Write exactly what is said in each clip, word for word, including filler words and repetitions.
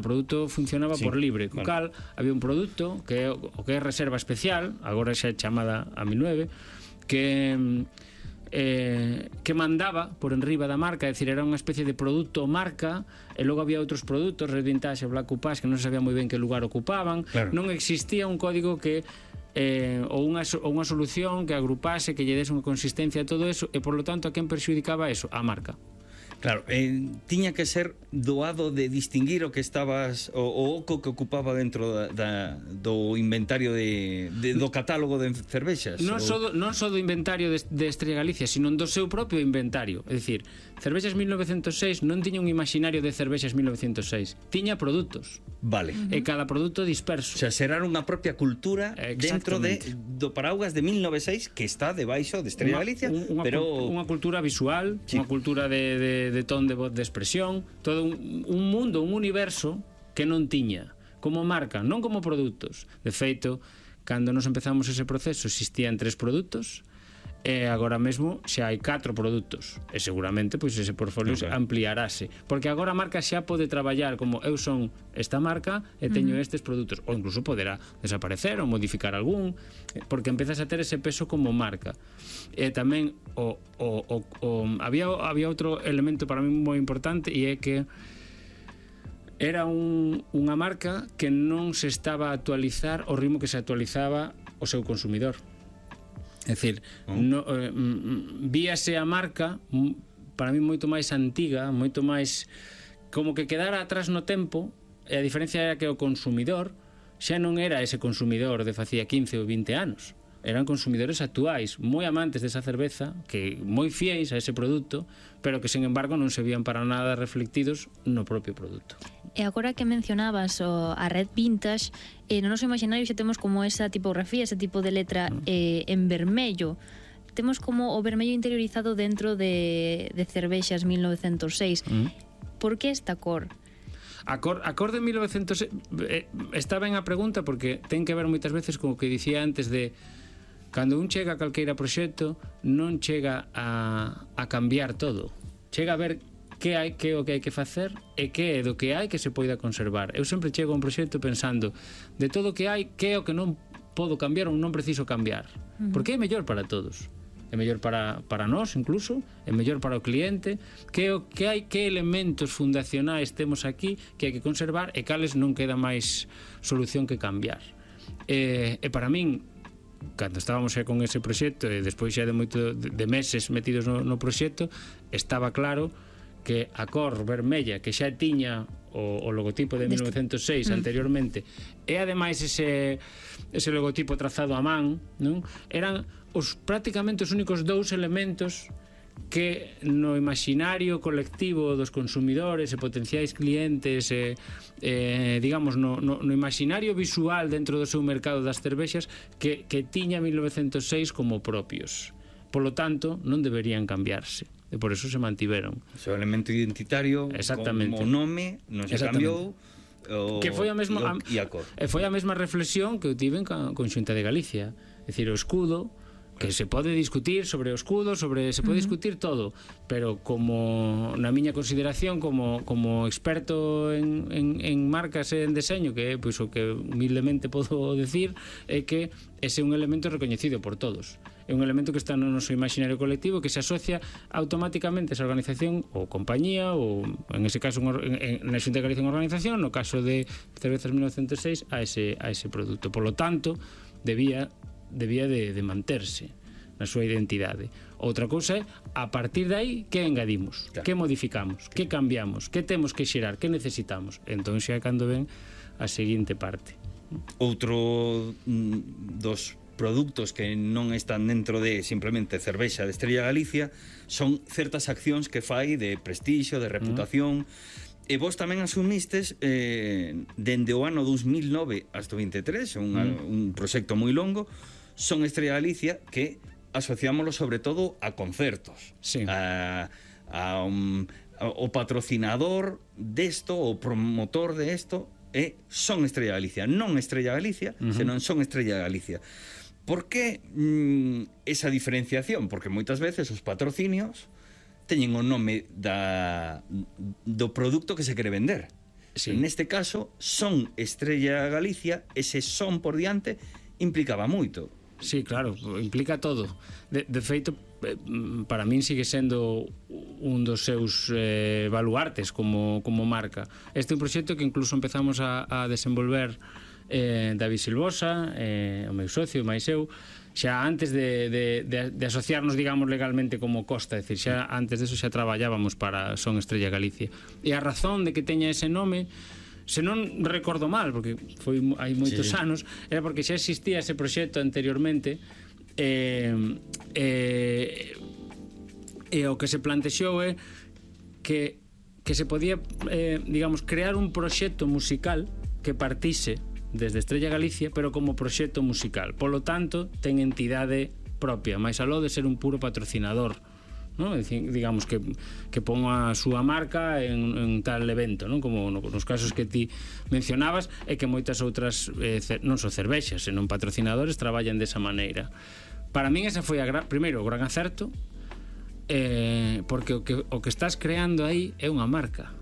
produto funcionaba sí, por libre, co vale. cal había un produto que é o que é reserva especial, agora xa é chamada a mil nove, que eh, que mandaba por enriba da marca, é dicir, era unha especie de produto marca, e logo había outros produtos, Red Vintage e Black Upas, que non se sabía moi ben que lugar ocupaban. Claro. Non existía un código que eh, ou, unha, ou unha solución que agrupase, que lle dese unha consistencia a todo eso, e por lo tanto a quen perxudicaba eso? A marca. Claro, eh, tiña que ser doado de distinguir o que estabas o, o oco que ocupaba dentro da, da, do inventario de, de, do catálogo de cervexas. Non só do, non só do inventario de, de Estrella Galicia, sino do seu propio inventario. É dicir, Cervexas mil novecentos seis non tiña un imaginario de Cervexas mil novecentos seis, tiña produtos. Vale. Uh-huh. E cada produto disperso. O sea, será unha propia cultura dentro de, do Paraugas de mil novecentos e seis que está debaixo de Estrella Galicia, unha, pero unha cultura visual, sí. unha cultura de, de, de ton de voz, de expresión, todo un, un mundo, un universo que non tiña como marca, non como produtos. De feito, cando nos empezamos ese proceso existían tres produtos e agora mesmo xa hai catro produtos e seguramente pois ese portfolio okay. ampliarase, porque agora a marca xa pode traballar como eu son esta marca e teño uh-huh. estes produtos, ou incluso poderá desaparecer ou modificar algún, porque empezas a ter ese peso como marca. E tamén o, o, o, o, había, había outro elemento para mí moi importante, e é que era un, unha marca que non se estaba a actualizar ao ritmo que se actualizaba o seu consumidor. É dicir, oh. no, eh, víase a marca para mí moito máis antiga, moito máis como que quedara atrás no tempo, e a diferencia era que o consumidor xa non era ese consumidor de facía quince ou vinte anos, eran consumidores actuais, moi amantes desa cerveza, que moi fiéis a ese produto, pero que, sen embargo, non se vían para nada reflectidos no propio produto. E agora que mencionabas o, a Red Vintage, eh, no noso imaginario xa temos como esa tipografía, ese tipo de letra eh, en vermello. Temos como o vermello interiorizado dentro de, de Cervexas mil novecentos e seis. Mm. Por que esta cor? A cor, a cor de mil novecentos e seis eh, está ben a pregunta, porque ten que ver moitas veces con o que dicía antes de cando un chega a calqueira proxecto non chega a, a cambiar todo, chega a ver que hai, que o que hai que facer e que é do que hai que se poida conservar. Eu sempre chego a un proxecto pensando de todo o que hai, que é o que non podo cambiar ou non preciso cambiar, uh-huh. porque é mellor para todos, é mellor para, para nós incluso, é mellor para o cliente, que o que hai, que elementos fundacionais temos aquí que hai que conservar e cales non queda máis solución que cambiar. E, e para min, cando estábamos xa con ese proxecto e despois xa de moito de, de meses metidos no, no proxecto, estaba claro que a cor vermella que xa tiña o, o logotipo de mil novecentos e seis anteriormente e ademais ese, ese logotipo trazado a man, non? Eran os prácticamente os únicos dous elementos que no imaginario colectivo dos consumidores e potenciais clientes e, eh, digamos no, no, no imaginario visual dentro do seu mercado das cervexas que, que tiña mil novecentos e seis como propios, polo tanto non deberían cambiarse e por eso se mantiveron. O seu elemento identitario como nome non se cambiou o, que foi a mesma o, e a cor. E foi a mesma reflexión que eu tive con, con Xunta de Galicia, é dicir, o escudo que se pode discutir sobre o escudo, sobre se pode uh-huh. discutir todo, pero como na miña consideración como, como experto en, en, en marcas e en deseño, que é pois, o que humildemente podo decir, é que ese é un elemento recoñecido por todos, é un elemento que está no noso imaginario colectivo, que se asocia automáticamente a esa organización ou compañía, ou en ese caso en, en, na Xunta de Galicia unha organización, no caso de Cervezas mil novecentos e seis a ese, a ese produto, por lo tanto debía debía de, de manterse na súa identidade. Outra cousa é, a partir de aí, que engadimos, claro. que modificamos, que cambiamos, que temos que xerar, que necesitamos. Entón xa é cando ven a seguinte parte. Outro dos produtos que non están dentro de simplemente cervexa de Estrella Galicia son certas accións que fai de prestixio, de reputación. Mm. E vos tamén asumistes eh, dende o ano dos mil nove hasta o veintitrés, un, mm. un proxecto moi longo. Son Estrella Galicia que asociámoslo sobre todo a concertos, sí. a, a, um, a o patrocinador desto, o promotor de esto é Son Estrella Galicia, non Estrella Galicia, uh-huh. senón Son Estrella Galicia. Por que mm, esa diferenciación? Porque moitas veces os patrocinios teñen o nome da, do produto que se quere vender. Sí. Neste caso, son Estrella Galicia, ese son por diante implicaba moito. Sí, claro, implica todo. De, de feito, para min sigue sendo un dos seus eh, baluartes como, como marca. Este é un proxecto que incluso empezamos a, a desenvolver eh, David Silvosa, eh, o meu socio, máis eu, xa antes de, de, de, de asociarnos, digamos, legalmente como Costa, é dicir, xa antes deso xa traballábamos para Son Estrella Galicia. E a razón de que teña ese nome, se non recordo mal, porque foi hai moitos sí. anos, era porque xa existía ese proxecto anteriormente, e, e, e o que se plantexou é que, que se podía, eh, digamos, crear un proxecto musical que partise desde Estrella Galicia, pero como proxecto musical. Polo tanto, ten entidade propia, máis aló de ser un puro patrocinador, ¿no? Es decir, digamos que, que pon a súa marca en, en tal evento, ¿no? Como no, nos casos que ti mencionabas, e que moitas outras eh, cer, non só cervexas, senón patrocinadores traballan desa maneira. Para min esa foi a gran, primeiro o gran acerto, eh, porque o que, o que estás creando aí é unha marca.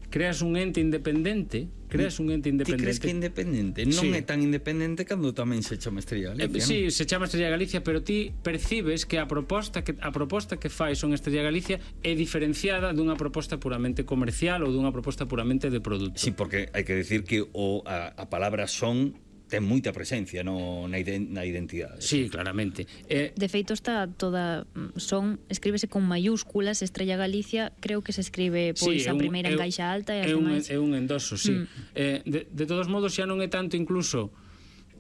Creas un ente independente, creas un ente independente. Ti crees que é independente? Non sí. é tan independente cando tamén se chama Estrella Galicia, eh, non? Sí, se chama Estrella Galicia, pero ti percibes que a proposta que a proposta que fai Son Estrella Galicia é diferenciada dunha proposta puramente comercial ou dunha proposta puramente de produto. Sí, porque hai que decir que o, a, a palabra son ten moita presencia no, na, iden, na identidade. Sí, claramente. Eh, De feito está toda son, escríbese con mayúsculas, Estrella Galicia, creo que se escribe pois sí, a un, primeira en caixa alta e as demais. É un endoso, sí. Mm. Eh, de, de todos modos, xa non é tanto incluso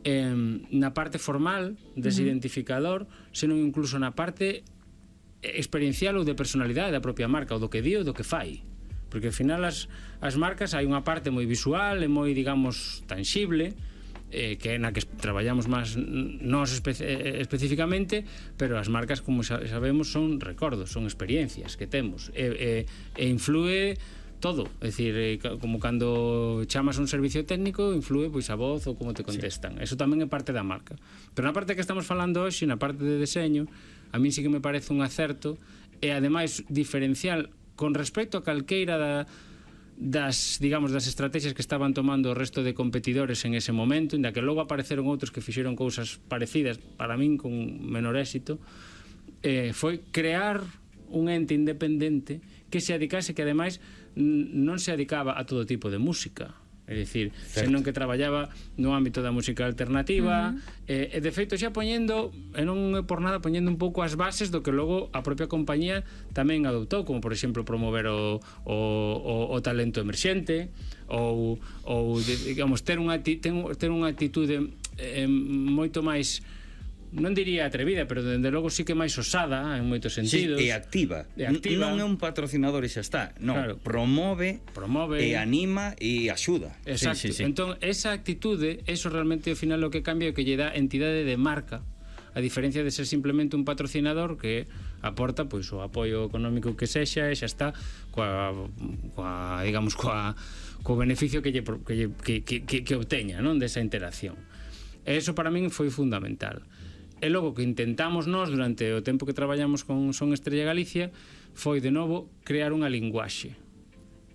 eh, na parte formal dese uh-huh. identificador, senón incluso na parte experiencial ou de personalidade da propia marca, ou do que di ou do que fai. Porque ao final as, as marcas hai unha parte moi visual e moi, digamos, tangible, eh, que é na que traballamos máis nós espe especificamente, pero as marcas, como xa sabemos, son recordos, son experiencias que temos, e, e, e influe todo, é dicir, eh, como cando chamas a un servicio técnico, influe pois a voz ou como te contestan. Sí. Eso tamén é parte da marca. Pero na parte que estamos falando hoxe, na parte de deseño, a mí sí que me parece un acerto, e ademais diferencial con respecto a calqueira da das, digamos, das estrategias que estaban tomando o resto de competidores en ese momento, inda que logo apareceron outros que fixeron cousas parecidas, para min con menor éxito, eh, foi crear un ente independente que se adicase, que ademais non se adicaba a todo tipo de música, é dicir, senón que traballaba no ámbito da música alternativa, uh-huh. e, e de feito xa poñendo, e non é por nada, poñendo un pouco as bases do que logo a propia compañía tamén adoptou, como por exemplo promover o, o, o, o talento emerxente, ou, ou digamos, ter unha, ter, ter unha actitude eh, moito máis, non diría atrevida, pero dende logo sí que máis osada en moitos sentidos. Sí, e activa. E activa. Non é un patrocinador e xa está. Non, claro. promove, promove e anima e axuda. Exacto. Sí, sí, sí. Entón, esa actitude, eso realmente ao final o que cambia é que lle dá entidade de marca, a diferencia de ser simplemente un patrocinador que aporta pois o apoio económico que sexa e xa está coa, coa digamos coa co beneficio que lle, que, lle, que, que, que, que obteña, non, desa interacción. E eso para min foi fundamental. E logo que intentamos nós durante o tempo que traballamos con Son Estrella Galicia foi de novo crear unha linguaxe,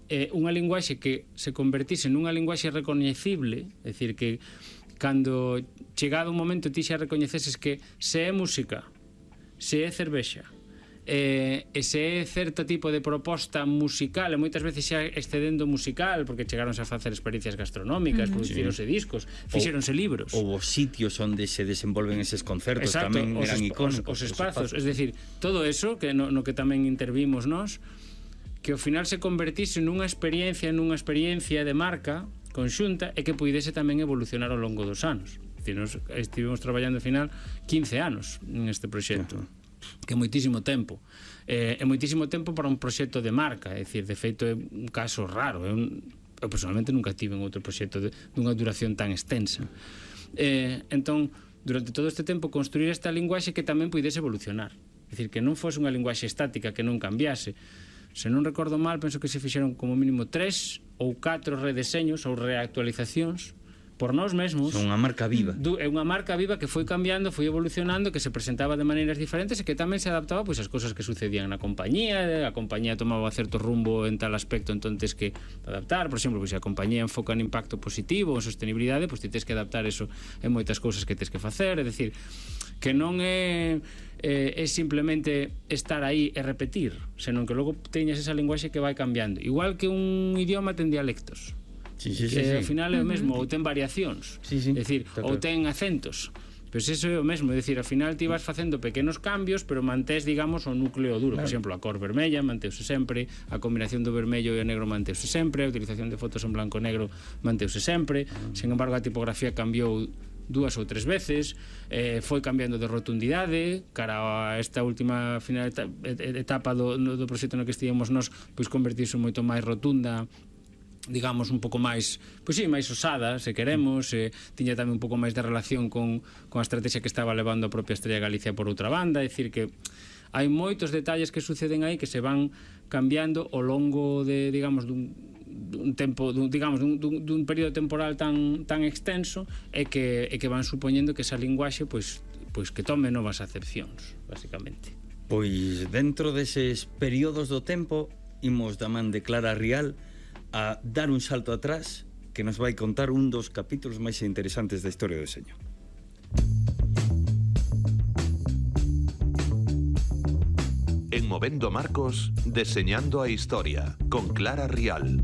e unha linguaxe que se convertise nunha linguaxe recoñecible, é dicir, que cando chegado un momento ti xa recoñeceses que se é música, se é cervexa, e, e se é certo tipo de proposta musical, e moitas veces xa excedendo musical, porque chegaronse a facer experiencias gastronómicas, uh-huh. producironse sí. discos, fixeronse libros, ou os sitios onde se desenvolven eses concertos. Exacto, tamén eran icónicos, os, os espazos, es decir, todo eso que no, no que tamén intervimos nós, que ao final se convertise nunha experiencia, nunha experiencia de marca conxunta, e que puidese tamén evolucionar ao longo dos anos. Es decir, nos estivemos traballando ao final quince anos en este proxecto. Uh-huh. Que é moitísimo tempo, eh, é moitísimo tempo para un proxecto de marca, é dicir, de feito é un caso raro, é un, eu personalmente nunca tive en outro proxecto de, dunha duración tan extensa, eh, entón durante todo este tempo construir esta linguaxe que tamén puidese evolucionar, é dicir, que non fose unha linguaxe estática que non cambiase. Se non recordo mal, penso que se fixeron como mínimo tres ou catro redeseños ou reactualizacións por nós mesmos. Son unha marca viva. Du, é unha marca viva que foi cambiando, foi evolucionando, que se presentaba de maneiras diferentes e que tamén se adaptaba pois ás cousas que sucedían na compañía. A compañía tomaba certo rumbo en tal aspecto, entonces que adaptar. Por exemplo, pois, se a compañía enfoca en impacto positivo, en sostenibilidade, pois ti tens que adaptar eso en moitas cousas que tens que facer. É dicir, que non é eh, é simplemente estar aí e repetir, senón que logo teñas esa linguaxe que vai cambiando, igual que un idioma ten dialectos. Sí, sí, que sí, sí. ao final é o mesmo, ou ten variacións, sí, sí, é dicir, ou ten acentos. Pois eso é o mesmo, é dicir, ao final ti vas facendo pequenos cambios, pero mantés, digamos, o núcleo duro. Por exemplo, a cor vermella manteuse sempre, a combinación do vermello e o negro manteuse sempre, a utilización de fotos en blanco e negro manteuse sempre. Sin embargo, a tipografía cambiou dúas ou tres veces, eh, foi cambiando de rotundidade cara a esta última final etapa do, do proxecto no que estivemos nós, pois convertirse moito máis rotunda, digamos, un pouco máis, pois sí, máis osada, se queremos, eh, tiña tamén un pouco máis de relación con, con a estrategia que estaba levando a propia Estrella Galicia por outra banda. É dicir que hai moitos detalles que suceden aí que se van cambiando ao longo de, digamos, dun, dun tempo, dun, digamos, dun, dun, dun período temporal tan, tan extenso e que, e que van supoñendo que esa linguaxe, pois, pois que tome novas acepcións, basicamente. Pois dentro deses períodos do tempo imos da man de Clara Rial a dar un salto atrás que nos vai contar un dos capítulos máis interesantes da historia do deseño. En Movendo Marcos, Deseñando a Historia, con Clara Rial.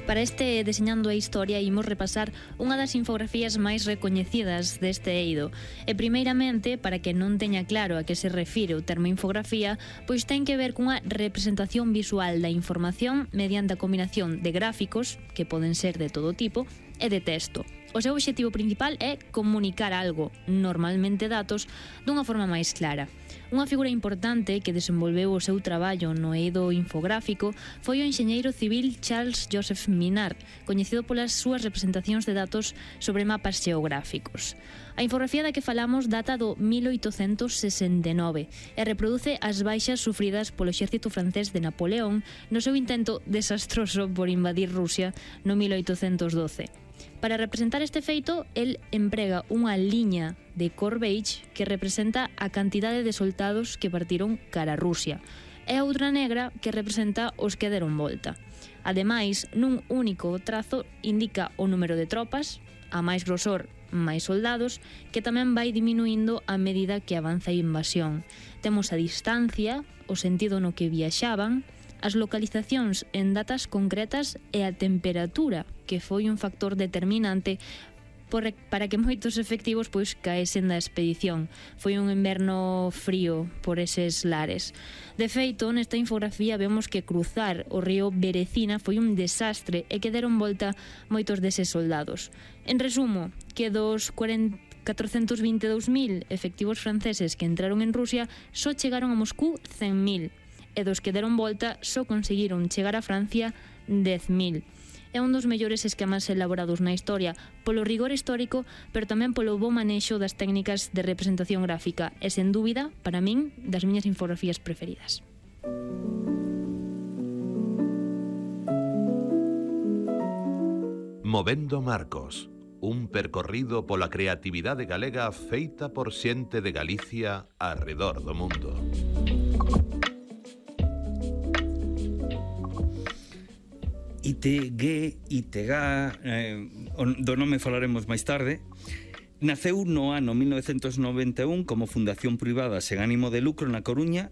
Para este Deseñando a Historia imos repasar unha das infografías máis recoñecidas deste eido. E primeiramente, para que non teña claro a que se refire o termo infografía, pois ten que ver cunha representación visual da información mediante a combinación de gráficos, que poden ser de todo tipo, e de texto. O seu obxectivo principal é comunicar algo, normalmente datos, dunha forma máis clara. Unha figura importante que desenvolveu o seu traballo no eido infográfico foi o enxeñeiro civil Charles Joseph Minard, coñecido polas súas representacións de datos sobre mapas xeográficos. A infografía da que falamos data do mil oitocentos sesenta e nove e reproduce as baixas sufridas polo exército francés de Napoleón no seu intento desastroso por invadir Rusia no mil oitocentos doce. Para representar este feito, el emprega unha liña de cor beige que representa a cantidade de soldados que partiron cara a Rusia e outra negra que representa os que deron volta. Ademais, nun único trazo indica o número de tropas, a máis grosor, máis soldados, que tamén vai diminuindo a medida que avanza a invasión. Temos a distancia, o sentido no que viaxaban, as localizacións en datas concretas e a temperatura, que foi un factor determinante por, para que moitos efectivos pois caesen da expedición. Foi un inverno frío por eses lares. De feito, nesta infografía vemos que cruzar o río Berecina foi un desastre e que deron volta moitos deses soldados. En resumo, que dos catrocentos vinte e dous mil efectivos franceses que entraron en Rusia só chegaron a Moscú cen mil, e dos que deron volta só conseguiron chegar a Francia dez mil. É un dos mellores esquemas elaborados na historia polo rigor histórico, pero tamén polo bo manexo das técnicas de representación gráfica e, sen dúbida, para min, das miñas infografías preferidas. Movendo Marcos, un percorrido pola creatividade galega feita por xente de Galicia arredor do mundo. I T G, I T G, eh, do nome falaremos máis tarde, naceu no ano mil novecentos noventa e un como fundación privada sen ánimo de lucro na Coruña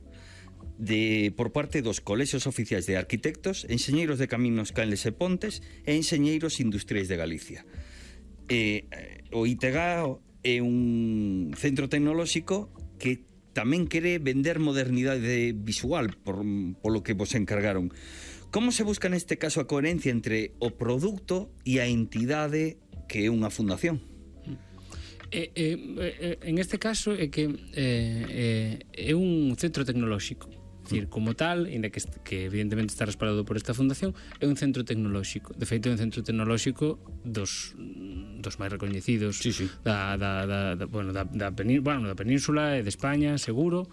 de, por parte dos colexios oficiais de arquitectos, enxeñeiros de caminos, canles e pontes e enxeñeiros industriais de Galicia. Eh, o I T G é un centro tecnolóxico que tamén quere vender modernidade visual por, polo que vos encargaron. Como se busca neste caso a coherencia entre o produto e a entidade que é unha fundación? Eh, eh, eh, en este caso é que eh, eh, é un centro tecnolóxico. É dicir, como tal, ainda que, que evidentemente está respaldado por esta fundación, é un centro tecnolóxico. De feito, é un centro tecnolóxico dos, dos máis recoñecidos sí, sí. Da, da, da, da, bueno, da, da, penín, bueno, da Península e de España, seguro.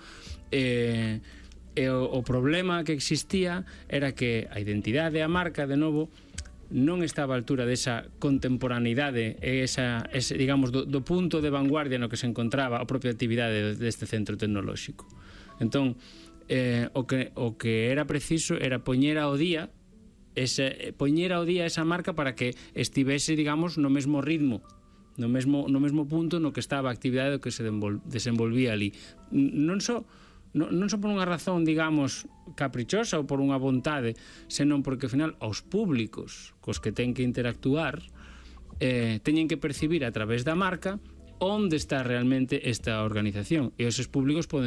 Eh, E o, o problema que existía era que a identidade e a marca, de novo, non estaba a altura desa contemporaneidade e esa, ese, digamos, do, do punto de vanguardia no que se encontraba a propia actividade deste centro tecnolóxico. Entón, eh, o, que, o que era preciso era poñer ao día ese, poñer ao día esa marca para que estivese, digamos, no mesmo ritmo, no mesmo, no mesmo punto no que estaba a actividade que se desenvolvía ali. Non só Non, non só por unha razón, digamos, caprichosa ou por unha vontade, senón porque, ao final, aos públicos cos que ten que interactuar eh, teñen que percibir a través da marca onde está realmente esta organización, e esos públicos poden